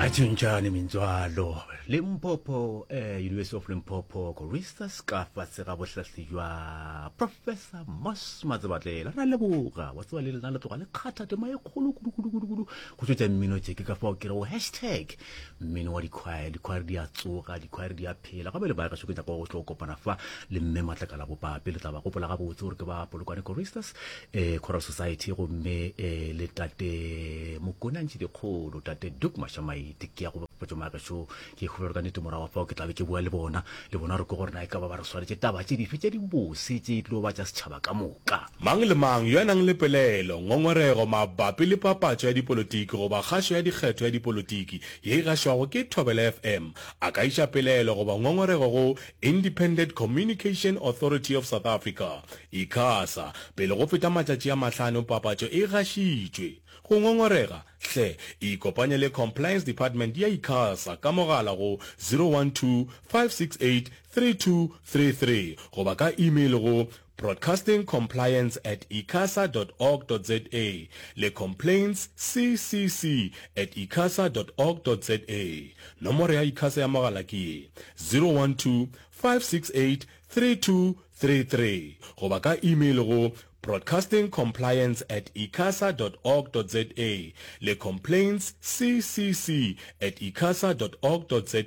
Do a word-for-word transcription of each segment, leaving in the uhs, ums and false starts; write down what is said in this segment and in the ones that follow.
Atšhontšhane mintswalo Limpopo eh, University of Limpopo Choristers ka fase ga bohlahli bja Professor Moss Matsebatlela. Ra leboga wa tseba le lena le tloga le kgatha tema e kgolo kudu kudu kudu kudu go tšwetša mmino tše ke ka fao ke rego hashtag mmino wa dikhwaere dikhwaere di a tsoga dikhwaere di a phela gape le bae gašo ke nyaka go tlo kopana fa le mme Matlakala Bopape le tla ba gopola gabotse gore ke ba Polokwane Choristers eh, Choral Society gomme eh, le tate Mokonantši Dikgolo tate Duke Mashamaite ke ya go bapatša magešo ke kgopela ka nnete morago fao ke tla be ke bua le bona le bona re ke gore na e ka ba ba re swaretše taba tše dife tše dibose tše e tlo ba tša setšhaba ka moka. Mang le mang yo a nang le pelaelo, ngongorego mabapi le papatšo ya dipolotiki goba kgašo ya dikgetho ya dipolotiki ye e gašwago ke Thobela F M a ka iša pelaelo goba ngongorego go Independent Communication Authority of South Africa, ICASA, pele go feta matšatši a mahlano papatšo e gašitšwe. Go ngongorega, hle ikopanye le Compliance Department ya ICASA ka mogala go zero one two, five six eight, three two three three goba ka email go broadcastingcompliance at icasa dot org dot za le complaintsccc at icasa dot org dot za. Nomoro ya ICASA ya mogala ke ye, zero one two, five six eight, three two three three goba ka email go broadcastingcompliance at icasa dot org dot za le complaintsccc at icasa dot org dot za.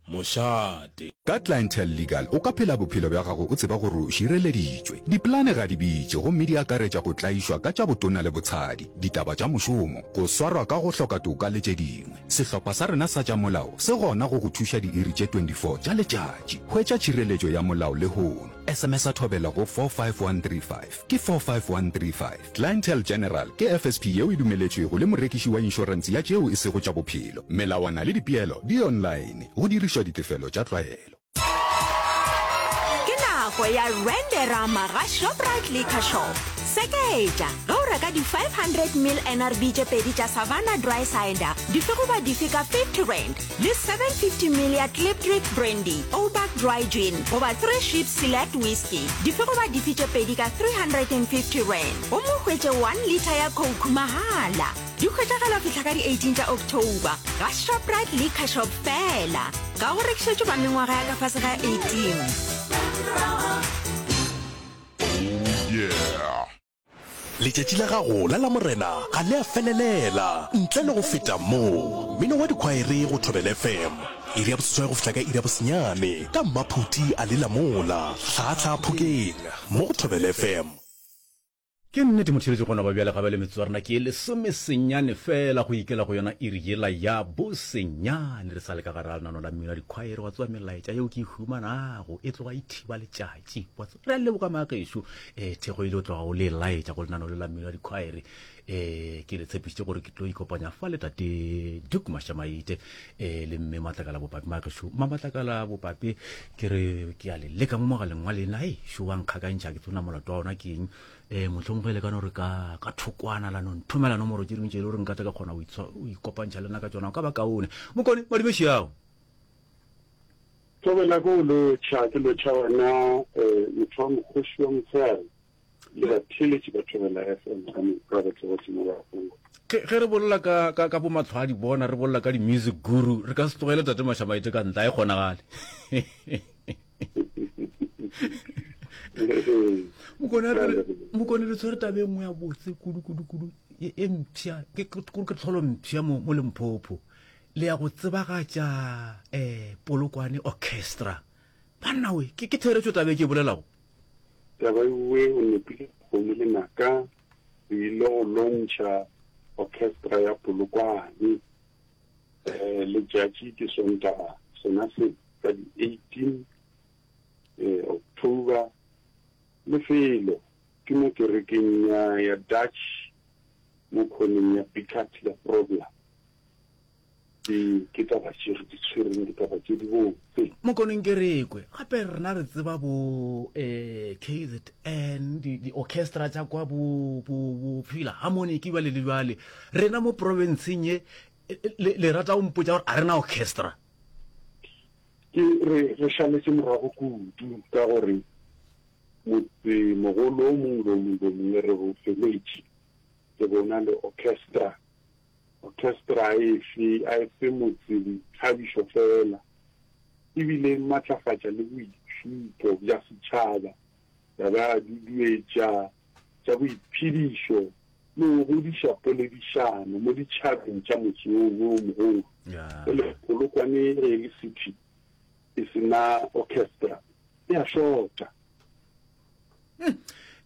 Mošate. Ka Clientele Legal o ka phela bophelo bja gago o tseba gore o šireleditšwe. Dipolane ga di bitše gomme di akaretša go tlaišwa ka tša botona le botshadi, ditaba tša mošomo, go swarwa ka go hloka toka le tše dingwe. Sehlopha sa rena sa tša molao se gona go go thuša diiri tše twenty four tša letšatši. Hwetša tšhireletšo ya molao lehono. S M S-a Thobela go four five one three five. Ke four five one three five. Clientele General ke F S P yeo e dumeletšwego le morekiši wa inšorense ya tšeo e sego tša bophelo. Melawana le dipeelo di online, go dirišwa ditefelo tša tlwaelo. Ke nako ya Renderama ga Shoprite Liquor Shop. Seketša ge o reka di five hundred mil N R B tše pedi tša Savanna Dry Cider dife goba dife ka fifty rand le seven fifty mil ya Klipdrift Brandy, Ouback Dry Gin goba Three Ships Select Whisky dife goba dife tše pedi ka three hundred and fifty rand gomme o hwetše one litre ya Coke mahala. Di hwetšagala fihla ka di eighteen tša October ga Shoprite Liquor Shop fela. Ga go rekišetšwe ba mengwaga ya ka fase ga eighteen. Letšatši la gago la Lamorena ga le a felelela ntle le go feta mo. Mmino wa dikhwaere go Thobela F M, iri ya boseswai go fihla ka iri ya bosenyane, ka Mmaphuti a lela mola, Hlaahlaa Phokeng, mo go Thobela F M. Ke nnete motheeletši gona ba bjale ga bjale metsotso ya rena ke e lesomesenyane fela go ikela go yona iri yela ya bosenyane re sa le ka gare ga lenano la mmino wa dikhwaere wa tseba melaetša yeo ke e humanago e tloga e thiba letšatši wa tseba re a leboga maagešo um thekgo ile o tloga o le laetša go lenano le la mmino wa dikhwaere um ke le tshepišitše gore ke tlo ikopanya fa le tate Duke Mashamaite um le mme Matlakala Bopape maagešo mma Matlakala Bopape ke re ke a le leka mo mogaleng wa lena ei šo wa nkgakantšha ke tsona molato wa ona ke eng um mohlomongwe e le ka no re ka ka thokwana la no nthomela nomoro tše dingwe tše e le gore nka tla ka kgona go ikopantšha le nna ka tšona o ka ba kaone mokone madumeši ao. Thobela ko o lotšha, ke lotšha wena um motho wa mokgoši wa motshegare le batheeletši ba Thobela F M ka moka botle botle mo ba gong. Ge, ge re bolela ka, ka, ka bomatlho a di bona, re bolela ka di-music guru, re ka se tlogele Tate Mashamaite ka ntle, a e kgonagale. Mokone, a re, Mokone re tshwere taba e nngwe ya botse kudu, kudu, kudu, e, e mpsha, ke, ke, ke tlholo mpsha mo, mo Limpopo. Le ya go tsebagatša um Polokwane Orchestra. Banna we, ke, ke therešo taba e ke e bolelago? Taba ewe o nepile kgomo le naka, re ile go lontšha orchestra ya Polokwane um letšatši ke Sontaga sona se ka di eighteen eh, October. Lefelo ke mo kerekeng ya, ya Dutch mo khoneng ya Pickard ya Grobler. Ke, ke taba tše re di tshwereng, ke taba tše di botse. Mokoneng ke re kwe, gape rena re tseba bo eh, K Z N, di, di orchestra tša kwa bo, bo, bo Philharmonic bjale le bjale. Rena mo provinceng ye, le, le rata go mpotša gore a rena orchestra? Ke re, re šaletše morago kudu ka gore motsemogolo o mongwe le o mongwe le o mongwe re o feletše, re bona le orchestra. Orchestra a e fe, a e fe motse boithabišo feela, e bile e matlafatša le boitšhupo bja setšhaba, ya ba ya duduetša tša boiphedišo le go godiša poledišano mo ditšhabeng tša motse wo wo mogolo. Bjale Polokwane ge e le city e se na orchestra e a šota.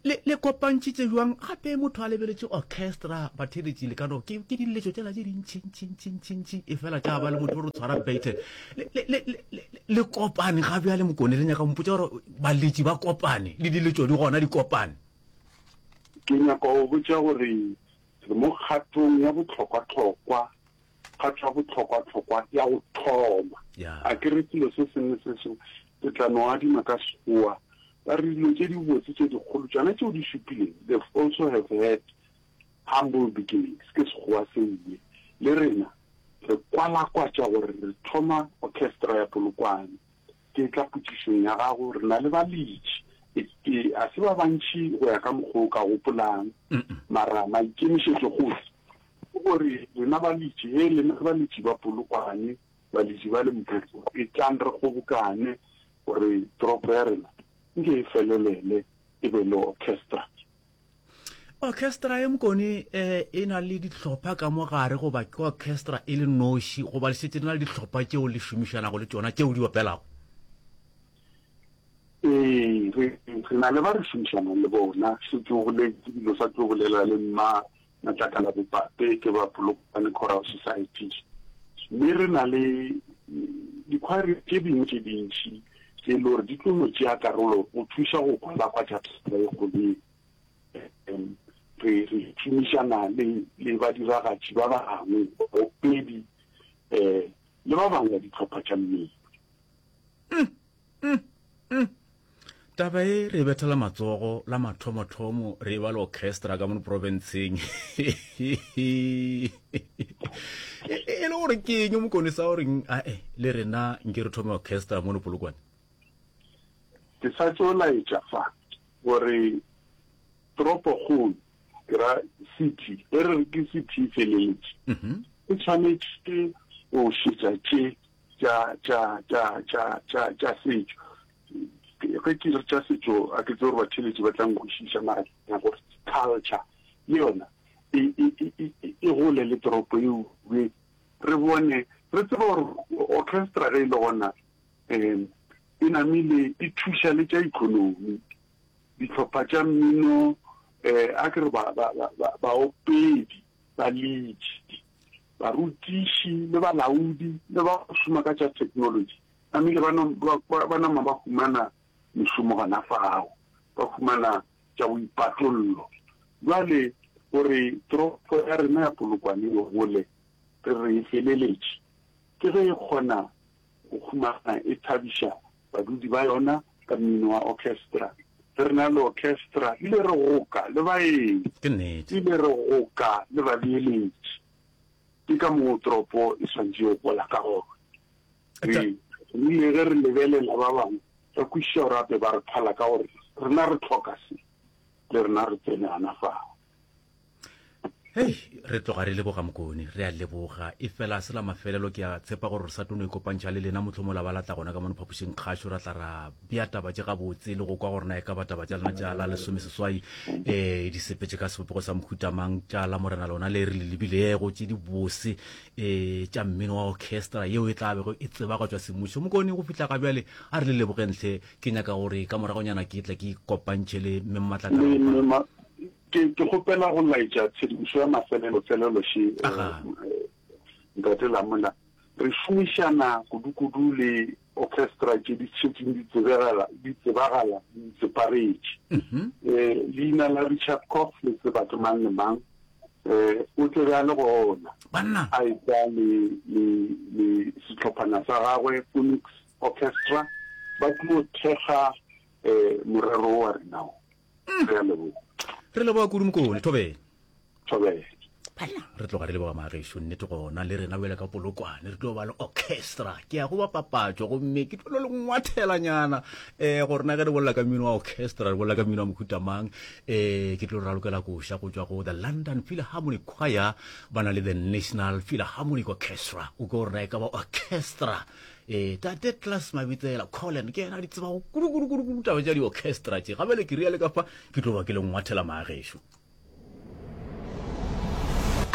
Le, le kopantšitše bjang gape motho a lebeletše orchestra batheeletši le ka no ke, ke diletšo tšela tše dintši ntši ntši ntši ntši e fela tša ba le motho o re tshwara bete le, le, le, le, le kopane ga bjale mokone le nyaka mpotša gore baletši ba kopane le diletšo di gona di kopane. Ke nyaka go botša gore re mo kgatong ya bohlokwahlokwa, kgato ya bohlokwahlokwa ya go thoma. Yeah. A ke re selo se sengwe se sengwe ke tla no adima ka Sekgowa Ba re dilo tše dibotse tše dikgolo tšona tšeo di šupileng, they've also have had humble beginnings, ke Sekgowa se nngwe. Le rena re kwalakwatša gore re thoma orchestra ya Polokwane. Ke tla potšišong ya gago, re na le baletši, e, e, a se ba bantši go ya ka mokgwa o ka gopolang, mara maikemišetšo gohle ke gore lena baletši, he lena baletši ba Polokwane, baletši ba Limpopo, etlang re kgobokane gore toropo ya rena nke e felelele e be le orchestra. Orchestra ye Mokone eh, e na le dihlopha ka mo gare goba ke orchestra e le noši goba le šetše le na le dihlopha tšeo le šomišanago le tšona tšeo di opelago? Ee, re, re na le ba re šomišanang le bona. Šetše o boletše dilo sa tlo bolela le mma Matlakala Bopape ke ba Polokwane Choral Society. Mme re na le dikhwaere tše dingwe tše dintši tše e le gore di tlo no tšea karolo go thuša go kwalakwatša taba e kgolo ye. Re, re šomišana le, le badiragatši ba bangwe, baopedi, um le ba bangwe ba dihlopha tša mmino. Mm, mm, mm. Taba e re e bethela matsogo la mathomothomo re e ba le orchestra ka mono profenseng. E e le gore ke eng Mokone sa goreng ae le rena nke re thome orchestra mono Polokwane? Ke sa tšo laetša fa gore toropokgolo, ke ra city, ge re re ke city e feleletše, e tshwanetše go šetša tše tša, tša, tša, tša, tša, tša setšo. Ge ke re tša setšo, a ke tsebe gore batheeletši ba tla nkwešiša, mara ke nyaka gore culture le yona e, e, e, e, e gole le toropo e ube. Re bone, re tsebe gore orchestra ge e le gona, um e namile e thuša le tša economy. Dihlopha tša mmino, um a ke re ba, ba, ba, ba, baopedi, baletši, barutiši le balaodi le ba go šoma ka tša theknolotši namile ba, no, ba, ba, ba nama ba humana mešomo gona fao, ba humana tša boipatollo. Bjale gore toropo ya rena ya Polokwane e gole, re re e feleletše, ke ge e kgona go humana e thabiša badudi ba yona ka mmino wa orchestra. Ge re na le orchestra, ebile re goka le baeng, Ke nnete. ebile re goka le babeeletši. Ke ka moo toropo e swanetše go gola ka gona. Re rile ge re lebelela ba bangwe, ra kwešiša gore gape ba re phala ka gore rena re hloka se, le rena re tsene gana fao. Hei, re tloga re leboga Mokone, re a leboga. Efela se la mafelelo ke a tshepa gore re sa tlo no ikopantšha le lena mohlomong la ba la tla gona ka mono phapošing kgašo ra tla ra bea taba tše gabotse le go kwa gore na e ka ba taba tša lena tša la lesomeseswai um di sepetše ka sebopego sa mohuta mang, tša la Morena lona le re le lebilego tše di bose um tša mmino wa orchestra yeo e tla bego e tsebagatšwa semmušo. Mokone, go fihla ga bjale a re le lebogeng hle. Ke nyaka gore ka moragonyana ke tle ke ikopantšhe le Mme Mmatlakala. Ke, ke kgopela go laetša tshedimošo ya mafelelo-felelo še, Aga. Ntate Lamola. Re šomišana kudu-kudu le orchestra tše di šetšeng di tsebegala, di tsebagala, di itseparetše. Eh, leina la Richard Cox le tseba ke mang le mang. Eh, o tle be a le gona. Banna! A etla le, le, le sehlophana sa gagwe, Phoenix Orchestra, ba tlo thekga, eh, morero wo wa rena wo. Re a leboga. Re leboga kudu Mokone. Thobela. Thobela. Banna, re tloga re leboga magešo nnete gona le rena bjale ka Polokwane re tlo ba le orchestra. Ke ya go ba papatšo gomme ke tlo le ngwathelanyana um gore na ge re bolela ka mmino wa orchestra re bolela ka mmino wa mohuta mang. Um ke tlo ralokela koša go tšwa go the London Philharmonic Choir, ba na le the National Philharmonic Orchestra. O ke gore na e ka ba orchestra. Um tate Class Mabitsela Colin ke yena a di tsebago kudu kudu kudu kudu taba tša di-orchestra tše. Gabele ke riale ka fa ke tlo ba ke le ngwathela magešo.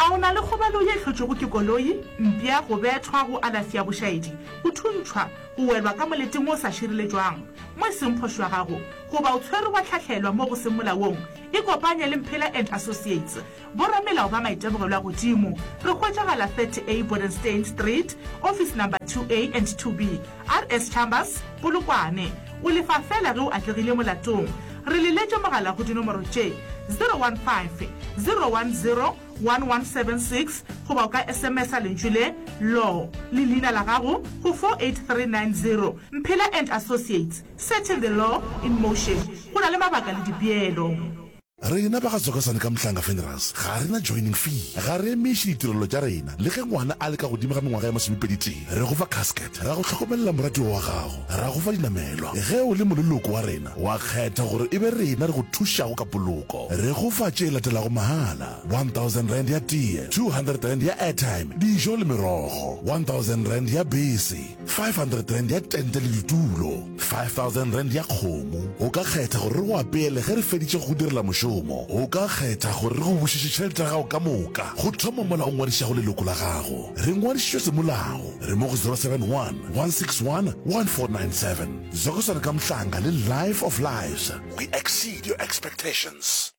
A o na le kgobalo ye e hlotšwego ke koloi, mpša, go bethwa, go alafi ya bošaedi, go thuntšhwa, go welwa ka moleteng wo o sa šireletšwang, mo e seng phošo ya gago, goba o tshwerwe wa hlahlelwa mo go seng molaong? Ikopanye le Mphela and Associates, boramelao ba maitemogelo a godimo. Re hwetšagala thirty A Bodenstein Street, Office Number two A and two B, R S Chambers, Polokwane. O lefa feela ge o atlegile molatong. Re leletše mogala go dinomoro tše, zero one five, zero one zero, one one seven six goba o ka S M S-a lentšu le, Law, le leina la gago go four eight three nine zero. Mphela and Associates, setting the law in motion. Go na le mabaka le dipeelo. Rena ba ga Tsokasane ka Mhlanga Funerals ga re na joining fee, ga re emiše ditirelo tša rena le ge ngwana a le ka godimo ga mengwaga ya masomepedi tee. Re go fa casket, ra go hlokomelela moratiwa wa gago, ra go fa dinamelwa. Ge o le moleloko wa rena, wa kgetha gore e be rena re go thušago ka poloko. Re go fa tše latelago mahala, one thousand rand ya tee, two hundred rand ya airtime, dijo le merogo, one thousand rand ya bese, five hundred rand ya tente le ditulo, five thousand rand ya kgomo. O ka kgetha gore re go apeele ge re feditše go go direla mošomo. O ka kgetha gore re go bušetše tšhelete ya gago ka moka go thoma mola o ngwadišago leloko la gago. Re ngwadišitšwe semolao. Re mo go zero seven one, one six one, one four nine seven. Zokosana ka Mhlanga le Life of Lives. We exceed your expectations.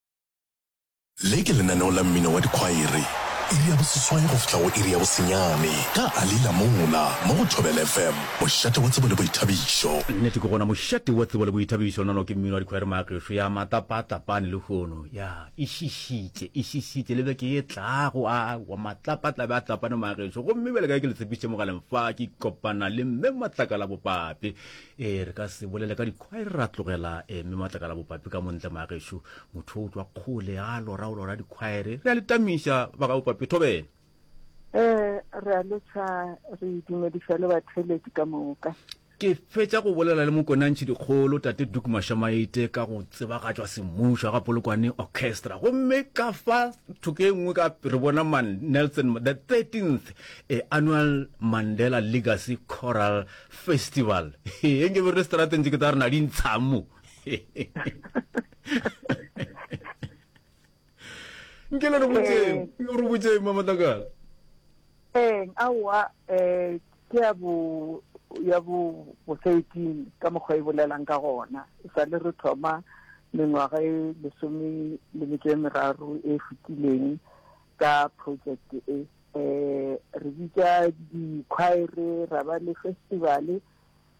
Le ke lenaneo la mmino wa dikhwaere, iri ya boseswai go fihla go iri ya bosenyane ka Ali Lamola mo go Thobela F M, mošate wa tsebo le boithabišo. Nnete ke gona mošate wa tsebo le boithabišo, nono ke mmino wa dikhwaere maagešo ya matlapaatlapane lehono, ya e šišitše, e šišitše le beke ye tlago, a wa matlapatlabe a tlapane maagešo. Gomme bjale ka ge ke le tshepišitše mogaleng fa, ke kopana le mme Matlakala Bopape. E re ka se bolele ka dikhwaere ra tlogela e mme Matlakala Bopape ka montle maagešo. Motho o tšwa kgole a lora o lora dikhwaere. Re a le tamiša ba ga Bopape thobela. Eh, re a lotšha, re dumediša le batheeletši ka moka. Ke fetša go bolela le mokonantšhi dikgolo tate Duke Mashamaite ka go tsebagatšwa semmušo ga Polokwane Orchestra. Gomme ka fa thoko e nngwe ka re bona man Nelson the thirteenth eh, annual Mandela Legacy Choral Festival. E nke be re le strateng tše ke tla re na di ntshang mo. Nke le re botseng, re botseng Mamatlakala. Ee, aowa, eh, ke ya bo ya bo bo thirteen ka mokgwa e bolelang ka gona. E sa le re thoma mengwaga e lesome le metšo e meraro e fetileng ka project e. Eh, re bitša dikhwaere, ra ba le festival,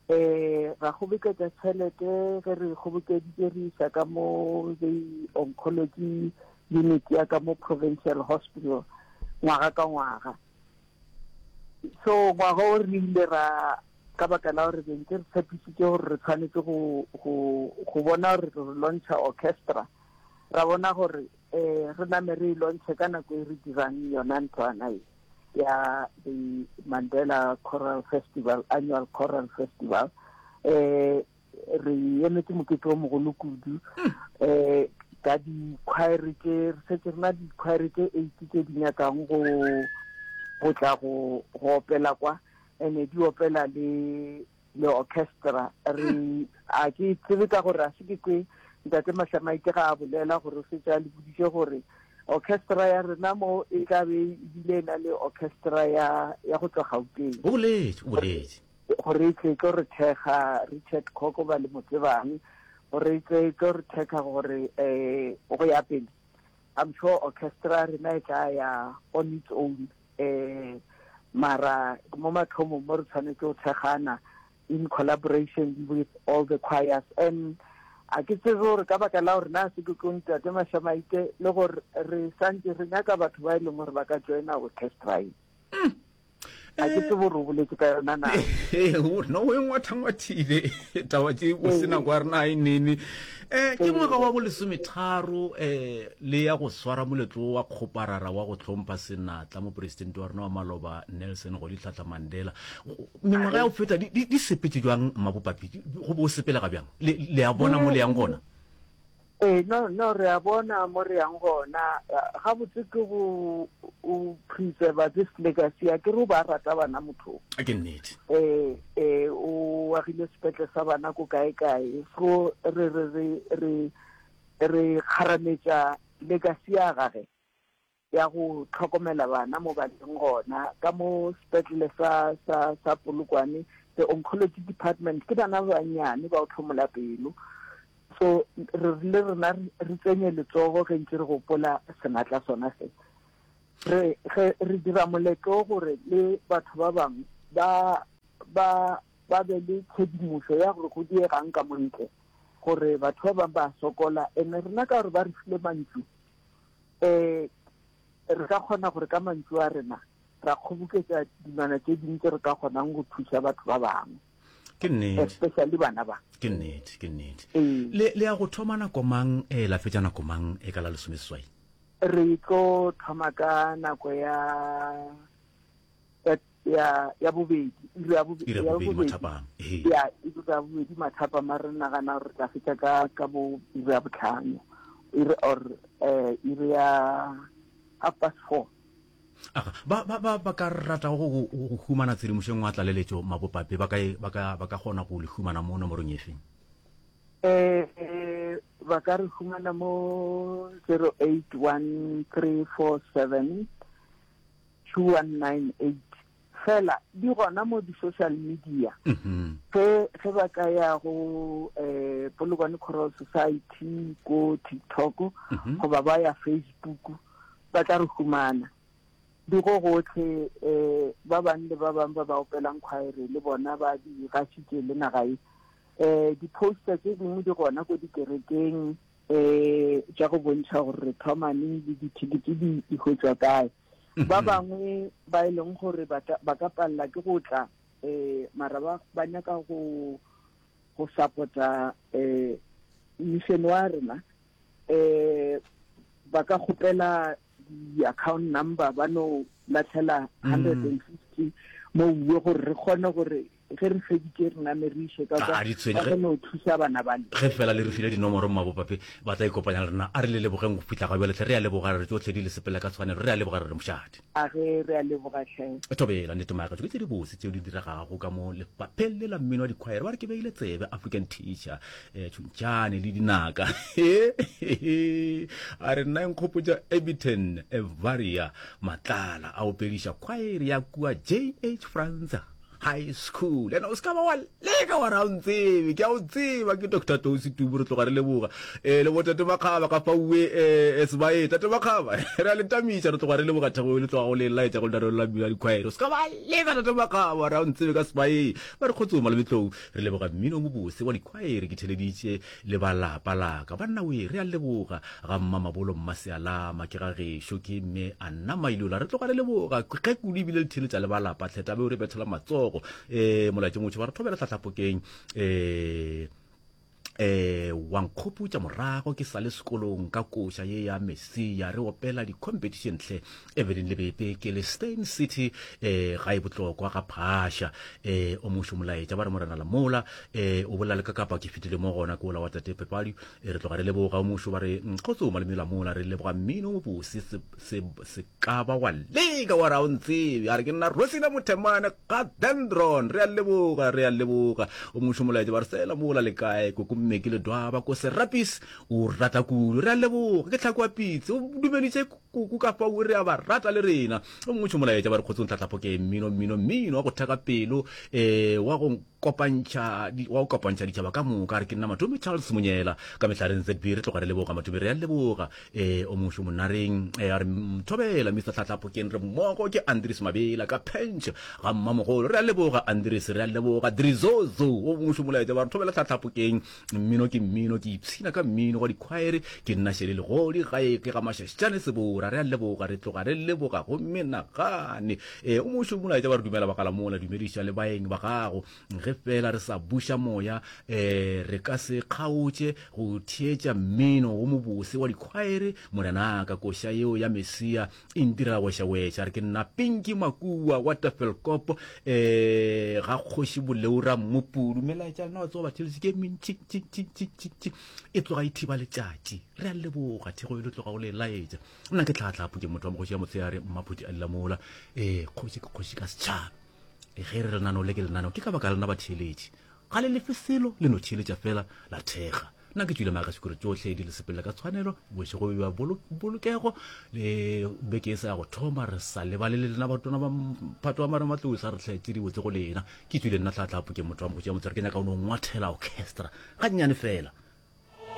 eh, ra kgoboketša tšhelete, ge re kgobokeditše re isa ka mo the oncology unit ya ka mo provincial hospital ngwaga ka ngwaga. So ngwaga o re ile ra ka baka la gore be ntse re tshepisitše gore re tshwanetse go, go, go bona gore re launcha orchestra, ra bona gore eh re name re e launche ka nako e re dirang yona ntlwana e ya the Mandela Choral Festival, annual Choral Festival. Eh re emetse mokete o mogolo kudu, eh ka dikhwaere tše re setse re na dikhwaere tše eight tše di nyakang go go tla go go opela kwa, ene di opela le le orchestra. Re a ke tsebe ka gore a se ke kwe ntate Mashamaite ga a bolela gore o setse a le boditše gore orchestra ya rena mo e tla be ebile e na le orchestra ya ya go tšwa Gauteng. O boletše, o boletše. Gore e tle e tlo re thekga Richard Koko ba le mo tsebang, gore e tle e tlo re thekga gore eh go ya pele. I'm sure orchestra rena e tla ya on its own, eh mara mo mathomong mo re tshwanetse go thekgana in collaboration with all the choirs. And a ke tsebe gore ka baka la gore na se ke tlo ntate Mashamaite le gore re santse re nyaka batho ba e leng gore ba ka joina orchestra e. A ke tsebe gore o boletse ka yona na. No o e ngwathangwathile taba tše o se nako ya rena a e nene. Um ke ngwaga wa bolesometharo um le ya go swara moletlo wa kgoparara wa go hlompha senatla mopresidente wa rena wa maloba Nelson Rolihlahla Mandela. Mengwaga ya go feta di, di, di sepetše bjang Mmabopapi? Go bo o sepelega bjang? Le, le a bona mo le yang gona? Ee, no, no, re a bona mo re yang gona. Gabotse ke go o preserva this legacy. A ke re o ba rata bana motho. Ke nnete. Eh, eh, o agile sepetle sa bana ko kae kae. So re re re re re kgarametša legacy ya gage ya go tlhokomela bana mo ba leng gona ka mo sepetlele sa sa sa Polokwane, the oncology department ke bana ba bannyane ba o tlhomola pelo. So re rile rena re tsenye letsogo ge ntse re gopola senatla sona se. Re ge re dira moletlo gore le batho ba bangwe ba ba ba be le tshedimošo ya gore go diegang ka montle, gore batho ba bangwe ba sokola, ene rena ka gore ba re file mantšu um re ka kgona gore ka mantšu a rena ra kgoboketša dilwana tše dingwe tse re ka kgonang go thuša batho ba bangwe. Ke nnete. Especially bana ba. Ke nnete, ke nnete. Le le ya go thoma nako mang e la fetša nako mang e ka la lesomeseswai? Re tlo thoma ka nako ya ya ya bobedi, iri ya bobedi, iri ya bobedi mathapama. Ya, iri ya bobedi mathapama, re nagana gore re tla fetša ka ka bo iri ya botlhano, iri or eh iri ya half past four. Aga, ba ba ba ba ka rata go go go humana tshedimošo engwe ya tlaleletšo Mabopape, ba ka ba ka ba ka kgona go le humana mo nomorong efe? Eh, ba ka re humana mo zero eight one three four seven two one nine eight. Fela di gona mo di-social media. Ge ge ba ka ya go eh Polokwane Choral Society ko TikTok goba ba ya Facebook, ba tla re humana. Di go gotlhe eh ba bang le ba bang ba ba opelang choir le bona ba di gašitše le naga e. Eh di-poster tše dingwe di gona ko dikerekeng eh tša go bontšha gore re thoma neng le dithekete di di hwetšwa kae. Ba bangwe ba e leng gore ba ka palela ke go tla eh mara ba ba nyaka go go support-a eh mission wa rena eh ba ka kgopela di-account number ba no latlhela hundred and fifty mo bue gore re kgone gore ge re feditše re name re iše ka kwa, A di tshwenye ba ge kgone go thuša bana bale. Ge fela le re file dinomoro Mmabopape ba tla ikopanya le rena. A re le lebogeng go fihla ga bjale hle. Re a leboga re tšohle di le sepela ka tshwanelo. Re a leboga re re mošate. A ge re a leboga hle. Thobela nnete maakatšo ke tše dibose tšeo di diregago ka mo lefapheng le la mmino wa dikhwaere. Ba re ke beile tsebe African Teacher eh, Tšhontšhane le dinaka. A re nna e nkgopotša Ebiton Evaria Matlala a opediša khwaere ya kua J H Franz High School. Ena o se ka ba wa leka wa ra o ntsebe, ke a o tseba, ke Doctor Tou Setubu, re tloga re leboga. Eh, le bo Tate Makgaba ka fauwe eh, Sebae, Tate Makgaba, re a le tamiša, re tloga re leboga thego e le tloga go le laetša go lenaneo la mmino wa dikhwaere. O se ka ba leka Tate Makgaba wa ra o ntsebe ka Sebae. Ba re kgotsong Malometlou, re leboga mmino o mobose wa dikhwaere, ke theleditše le ba lapa laka. Banna we, re a leboga ga Mmamabolo Mmasealama, ke ga gešo, ke mme Anna Mailola, re tloga re leboga ge kudu ebile le theletša le ba lapa hle, tabe o re bethela matsogo. Eh, molaetša motho ba re thobela hlahlapokeng eh eh wa nkgopotša morago ke sa le sekolong ka koša ye ya Messia, re opela di-competition hle Evelyn Lebepe ke le Steyn City eh ga e botlokwa ga Phasha. Eh o mošo molaetša ba re morena Lamola eh o bolela le ka kapa ke fetile mo gona ke ola wa tate Pepadi, eh, re tloga re leboga o mošo ba re kgotso malome Lamola, re leboga mmino o mobose se se se ka ba wa leka wa ra o ntsebe. A re ke nna Rosina Mothemane ga Dendron, re a leboga, re a leboga o mošo molaetša ba re sela mola le kae koko mme ke le dwaba ko Serapis o rata kudu, re a leboga ke tlhako wa pitse o dumeditše kuku ka fao re a ba rata le rena. O mongwe molaetša ba re kgotsong tlhatlhapo ke mmino mmino mmino wa go theka pelo eh wa go kopantšha wa go kopantšha ditšhaba ka moka. Re ke nna Matome Charles Monyela ka mehlareng Z B, re tloga re leboga Matome, re a leboga. Eh o mongwe monareng eh a re thobela Mister Tlhatlhapo ke re mmogo ke Andries Mabela ka Pench ga mmamogolo, re a leboga Andries, re a leboga Drizozo. O mongwe molaetša ba re thobela Tlhatlhapo keng Mmino ke mmino, ke ipshina ka mmino wa dikhwaere. Ke nna Shele Legodi, gae ke ga Mašašane Sebora. Re a leboga, re tloga re leboga go menagane. E, o mošo molaetša ba re dumela Bagalamola, dumediša le baeng ba gago. Ge feela re sa buša moya, e, re ka se kgaotše go theetša mmino wo mobose wa dikhwaere. Morenaka, koša yeo ya Mesia e ntirela wešawešwa. Re ke nna Pinky Makua wa Tafelkop, e, ga Kgoši Boleura Mmupudu. Melaetša lena wa tseba batheeletši ke e mentši-ntši-ntši-ntši-ntši, e tloga e thiba letšatši. Re a leboga thego e le tloga go le laetša. Nna ke Tlhatlhapu, ke motho wa mogoši ya motshehare, Mmaphuti a Lilamola. E, kgoši ke kgoši ka setšhaba. E, ge re lenaneo le ke lenaneo, ke ka baka la lena batheeletši. Ga le lefe selo, le no theeletša fela la thekga. Nna ke tšwile maaka sekolo tšohle di le sepelela ka tshwanelo, bošego bja bolokego le beke e sa ya go thoma, re sa lebale le lena batona ba mphato wa marematlou sa re hlaetše dibotse go lena. Ke tšwile nna Tlhatlhapu, ke motho wa mogoši ya motshehare, ke nyaka go no ngwathela orchestra gannyane fela.